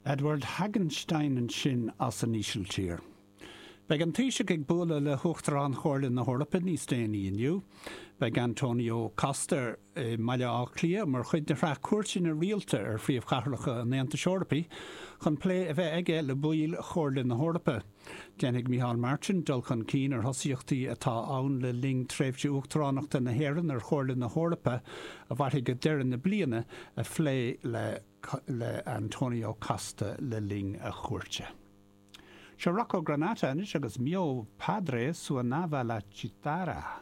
Edward Hagenstein ansin as an Ísiltír. Beidh an Taoiseach ag bualadh le hUachtarán Chomhairle na hEorpa níos déanaí inniu. Beidh Antonio Costa i mBaile Átha Cliath mar chuid de shraith cuairteanna rialta ar phríomhchathracha an Aontais Eorpaigh chun plé a bheith aige le baill Chomhairle na hEorpa. Déanfaidh Micheál Martin dul chun cinn ar thosaíochtaí atá ann le linn tréimhse uachtaránachta na hÉireann ar Chomhairle na hEorpa, a mhairfidh go deireadh na bliana, a phlé le le Antonio Costa le linn a chuairte. Seo Rocco Granata anois agus Mio Padre Suonava la Chitarra.